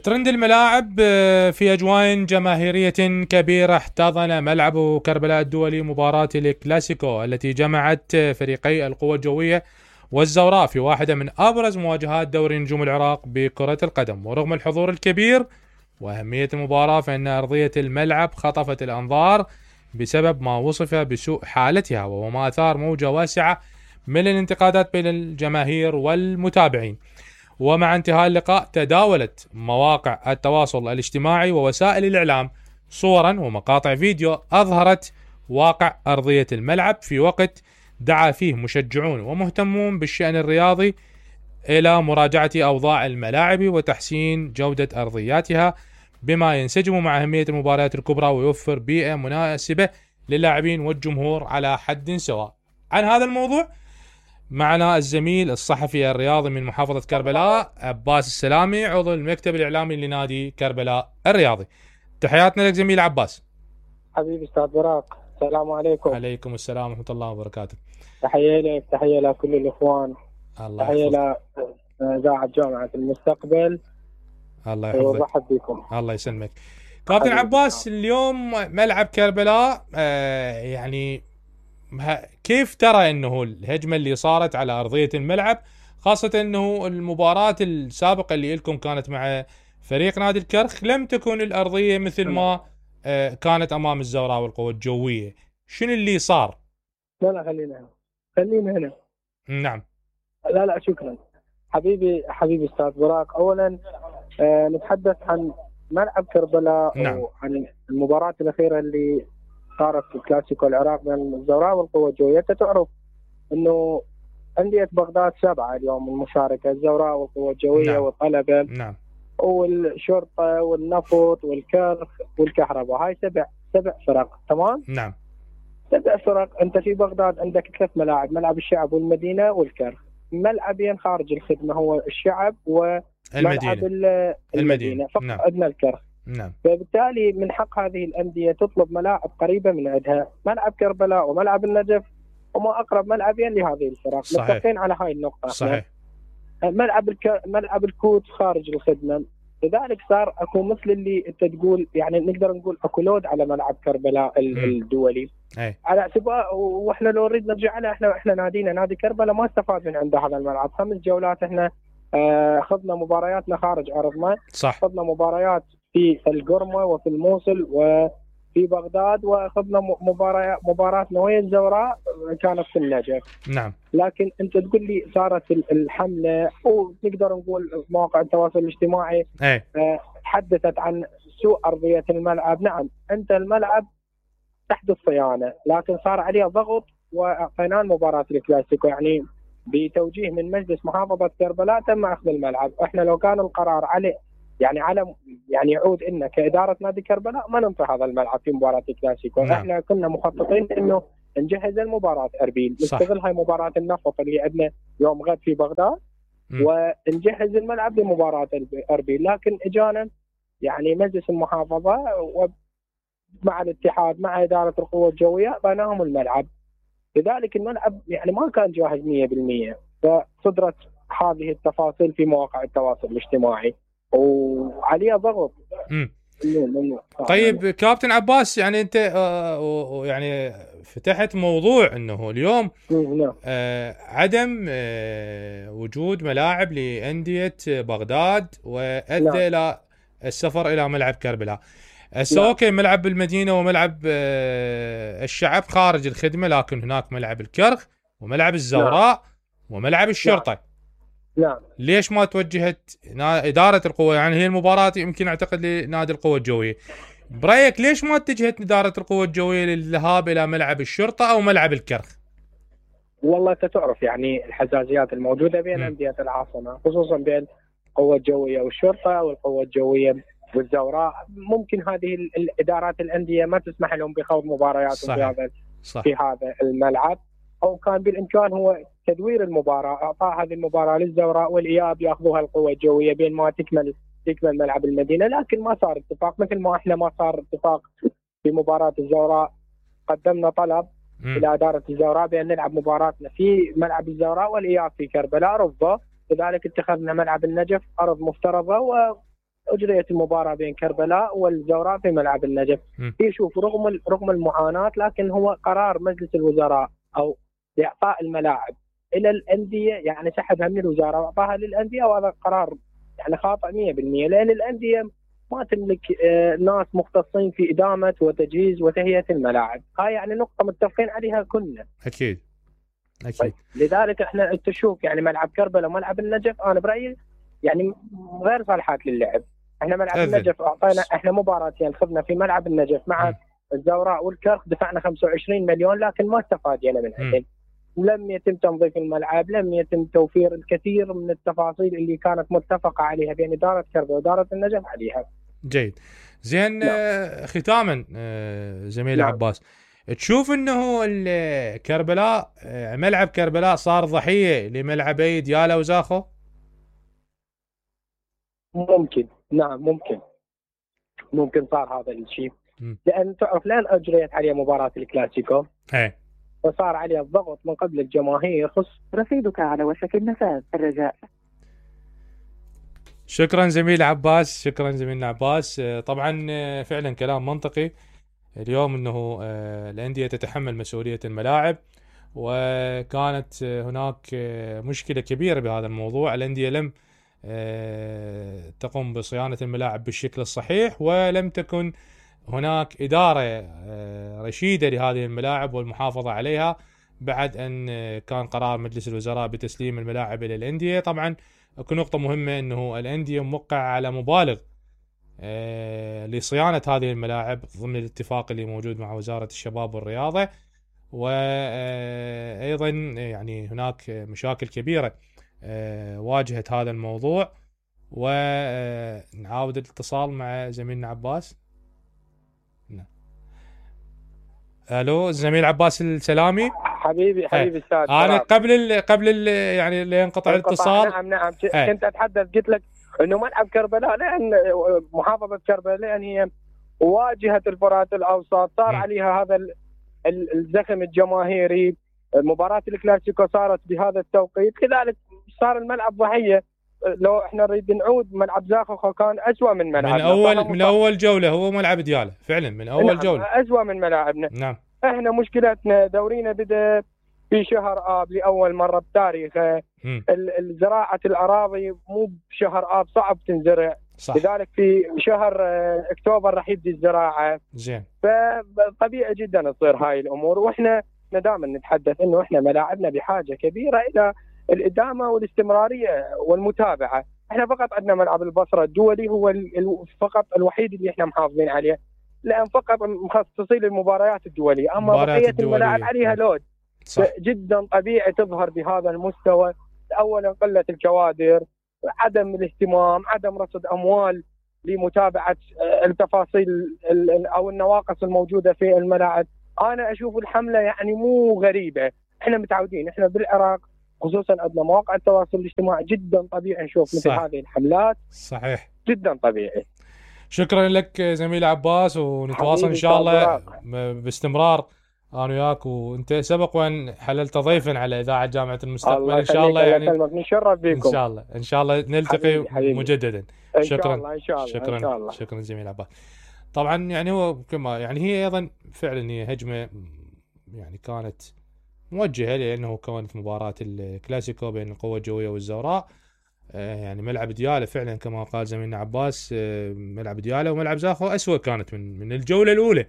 ترند الملاعب في أجواء جماهيرية كبيرة احتضن ملعب كربلاء الدولي مباراة الكلاسيكو التي جمعت فريقي القوة الجوية والزوراء في واحدة من أبرز مواجهات دوري نجوم العراق بكرة القدم. ورغم الحضور الكبير وأهمية المباراة فإن أرضية الملعب خطفت الأنظار بسبب ما وصف بسوء حالتها، وهو ما أثار موجة واسعة من الانتقادات بين الجماهير والمتابعين. ومع انتهاء اللقاء تداولت مواقع التواصل الاجتماعي ووسائل الإعلام صورا ومقاطع فيديو أظهرت واقع أرضية الملعب في وقت دعا فيه مشجعون ومهتمون بالشأن الرياضي إلى مراجعة أوضاع الملاعب وتحسين جودة أرضياتها، بما ينسجم مع أهمية المباريات الكبرى ويوفر بيئة مناسبة للاعبين والجمهور على حد سواء. عن هذا الموضوع معنا الزميل الصحفي الرياضي من محافظة كربلاء عباس السلامي، عضو المكتب الإعلامي لنادي كربلاء الرياضي. تحياتنا لك زميل عباس. حبيبي استاذ براق، السلام عليكم. عليكم السلام ورحمة الله وبركاته. تحية لك، تحية لكل الإخوان، تحية لإذاعة جامعة المستقبل. الله يحفظك ورحب بكم. الله يسلمك كابتن عباس. اليوم ملعب كربلاء يعني كيف ترى انه الهجمة اللي صارت على ارضية الملعب، خاصة انه المباراة السابقة اللي لكم كانت مع فريق نادي الكرخ لم تكن الارضية مثل ما كانت امام الزوراء والقوة الجوية، شنو اللي صار؟ لا خلينا هنا. نعم. لا شكرا حبيبي استاذ براق. اولا نتحدث عن ملعب كربلاء. نعم. وعن المباراة الاخيرة اللي صارت في كلاسيكو العراق بين الزوراء والقوة الجوية. انت تعرف انه أندية بغداد 7 اليوم المشاركة، الزوراء والقوة الجوية. نعم. والطلبة. نعم. والشرطة والنفط والكرخ والكهرباء. هاي سبع فرق. تمام. نعم. 7 فرق. انت في بغداد عندك 3 ملاعب، ملعب الشعب والمدينة والكرخ. ملعبين خارج الخدمة هو الشعب وملعب المدينة فقط. نعم. عندنا الكرخ. نعم. فبالتالي من حق هذه الأندية تطلب ملاعب قريبة من عندها، ملعب كربلاء وملعب النجف وما أقرب ملعبين لهذه الفرق. متفقين على هاي النقطة. صحيح. ملعب الكوت خارج الخدمة، لذلك صار اكو مثل اللي انت تقول، يعني نقدر نقول اكو لود على ملعب كربلاء الدولي. على اعتبار واحنا لو نريد نرجع له، احنا نادينا نادي كربلاء ما استفاد من عنده هذا الملعب. 5 جولات احنا اخذنا مبارياتنا خارج ارضنا. صح. اخذنا مباريات في القرمة وفي الموصل وفي بغداد، واخذنا مباراة نوية الزوراء كانت في النجف. نعم. لكن انت تقول لي صارت الحملة، ونقدر نقول مواقع التواصل الاجتماعي تحدثت عن سوء أرضية الملعب. نعم، انت الملعب تحت الصيانة، لكن صار عليه ضغط وأعطيناه مباراة الكلاسيكو، يعني بتوجيه من مجلس محافظة كربلاء تم أخذ الملعب. احنا لو كان القرار عليه يعني يعود إن كإدارة نادي كربلاء ما ننطي هذا الملعب في مباراة الكلاسيكو. نعم. احنا كنا مخططين إنه نجهز المباراة أربيل، نستغل هاي مباراة النفط اللي عندنا يوم غد في بغداد ونجهز الملعب لمباراة أربيل. لكن إجانا يعني مجلس المحافظة ومع الاتحاد مع إدارة القوة الجوية بناهم الملعب، لذلك الملعب يعني ما كان جاهز 100%. فصدرت هذه التفاصيل في مواقع التواصل الاجتماعي وعليها ضغط. طيب كابتن عباس، يعني انت يعني فتحت موضوع انه اليوم عدم وجود ملاعب لأندية بغداد وأدى الى السفر الى ملعب كربلاء. اوكي، ملعب المدينة وملعب الشعب خارج الخدمة، لكن هناك ملعب الكرخ وملعب الزوراء وملعب الشرطة. نعم. ليش ما توجهت إدارة القوة؟ يعني هي المباراة يمكن أعتقد لنادي القوة الجوية، برأيك ليش ما اتجهت إدارة القوة الجوية للذهاب إلى ملعب الشرطة أو ملعب الكرخ؟ والله أنت تعرف يعني الحساسيات الموجودة بين أندية العاصمة، خصوصا بين القوة الجوية والشرطة والقوة الجوية والزوراء. ممكن هذه الإدارات الأندية ما تسمح لهم بخوض مبارياتهم في هذا الملعب، أو كان بالإمكان هو تدوير المباراة، أعطاء هذه المباراة للزوراء والإياب يأخذوها القوة الجوية بين ما تكمل ملعب المدينة. لكن ما صار اتفاق، مثل ما احنا ما صار اتفاق في مباراة الزوراء. قدمنا طلب إلى إدارة الزوراء بأن نلعب مباراتنا في ملعب الزوراء والإياب في كربلاء، رفضوا، لذلك اتخذنا ملعب النجف أرض مفترضة اجريت المباراه بين كربلاء والزوراء في ملعب النجف. شوف رغم المعاناه، لكن هو قرار مجلس الوزراء او باعطاء الملاعب الى الانديه، يعني سحبها من الوزاره واعطاها للانديه، وهذا قرار يعني خاطئ 100%، لان الانديه ما تملك ناس مختصين في ادامه وتجهيز وتهيئه الملاعب. هاي يعني نقطه متفقين عليها كلنا. اكيد. طيب. لذلك احنا تشوف يعني ملعب كربلاء وملعب النجف انا برايي يعني غير صالحات للعب. احنا ملعب النجف اعطينا احنا مباراتين خذنا في ملعب النجف مع الزوراء والكرخ، دفعنا 25 مليون لكن ما استفادنا منها. لم يتم تنظيف الملعب، لم يتم توفير الكثير من التفاصيل اللي كانت متفقه عليها بين اداره كربلاء واداره النجف عليها. جيد. زين. ختاما زميل عباس، تشوف انه كربلاء ملعب كربلاء صار ضحيه لملعبي ديالا وزاخو؟ ممكن، نعم ممكن صار هذا الشيء، لان تعرف لان اجريت عليه مباراه الكلاسيكو وصار عليه الضغط من قبل الجماهير. رصيدك على وشك النفاذ، الرجاء. شكرا زميل عباس، شكرا زميلنا عباس. طبعا فعلا كلام منطقي اليوم، انه الانديه تتحمل مسؤوليه الملاعب، وكانت هناك مشكله كبيره بهذا الموضوع. الانديه لم تقوم بصيانه الملاعب بالشكل الصحيح، ولم تكن هناك اداره رشيده لهذه الملاعب والمحافظه عليها بعد ان كان قرار مجلس الوزراء بتسليم الملاعب الى الانديه. طبعا اكو نقطه مهمه، انه الانديه موقعه على مبالغ لصيانه هذه الملاعب ضمن الاتفاق اللي موجود مع وزاره الشباب والرياضه، وايضا يعني هناك مشاكل كبيره واجهت هذا الموضوع. ونعاود الاتصال مع زميلنا عباس. الو زميل عباس السلامي. حبيبي استاذ. انا قبل يعني لينقطع الاتصال. نعم كنت اتحدث، قلت لك انه ملعب كربلاء لان محافظه كربلاء لان هي واجهت الفرات الاوسط صار عليها هذا الزخم الجماهيري. مباراه الكلاسيكو صارت بهذا التوقيت، لذلك صار الملعب ضحيه. لو احنا نريد نعود ملعب زاخو كان اسوأ من ملعبنا من اول جوله. هو ملعب دياله فعلا من اول جوله اسوأ من ملاعبنا. نعم. احنا مشكلتنا دورينا بدا في شهر اب لاول مره بتاريخه. زراعه الاراضي مو بشهر اب، صعب تنزرع. صح. لذلك في شهر اكتوبر راح يبدي الزراعه. زين. فطبيعي جدا تصير هاي الامور، واحنا دائما نتحدث انه احنا ملاعبنا بحاجه كبيره الى الادامه والاستمراريه والمتابعه. احنا فقط عندنا ملعب البصره الدولي هو فقط الوحيد اللي احنا محافظين عليه، لان فقط مخصصين للمباريات الدوليه، اما بقيه الملاعب عليها لود. جدا طبيعي تظهر بهذا المستوى. اولا قله الكوادر، عدم الاهتمام، عدم رصد اموال لمتابعه التفاصيل او النواقص الموجوده في الملاعب. انا اشوف الحمله يعني مو غريبه، احنا متعودين، احنا بالعراق خصوصا عندنا مواقع التواصل الاجتماعي جدا طبيعي نشوف مثل هذه الحملات. صحيح. جدا طبيعي. شكرا لك زميل عباس، ونتواصل ان شاء الله باستمرار انا وياك. وانت سبق وان حللت ضيفا على اذاعه جامعه المستقبل ان شاء الله، يعني نشرف بكم ان شاء الله نلتقي مجددا. شكرا إن شاء الله. شكرا زميل عباس. طبعا يعني هو كما يعني هي ايضا فعلا هي هجمه يعني كانت موجهه، لانه كانت مباراه الكلاسيكو بين القوه الجويه والزوراء. يعني ملعب دياله فعلا كما قال زميلنا عباس، ملعب دياله وملعب زاخو أسوأ كانت من الجوله الاولى.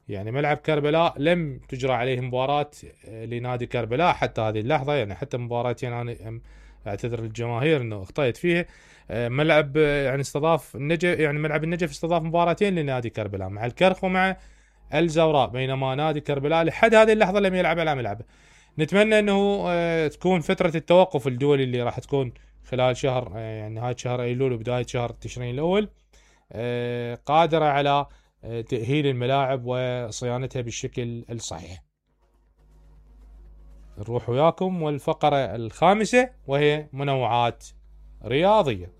يعني ملعب كربلاء لم تجرى عليه مباراه لنادي كربلاء حتى هذه اللحظه، يعني حتى مباراتين انا اعتذر للجماهير انه اخطأت فيها. ملعب يعني استضاف النجف، يعني ملعب النجف استضاف مباراتين لنادي كربلاء مع الكرخ ومع الزوراء، بينما نادي كربلاء لحد هذه اللحظه لم يلعب على ملعبه. نتمنى انه تكون فتره التوقف الدولي اللي راح تكون خلال شهر يعني نهايه شهر ايلول وبدايه شهر تشرين الاول قادره على تأهيل الملاعب وصيانتها بالشكل الصحيح. نروح وياكم والفقرة الخامسة وهي منوعات رياضية.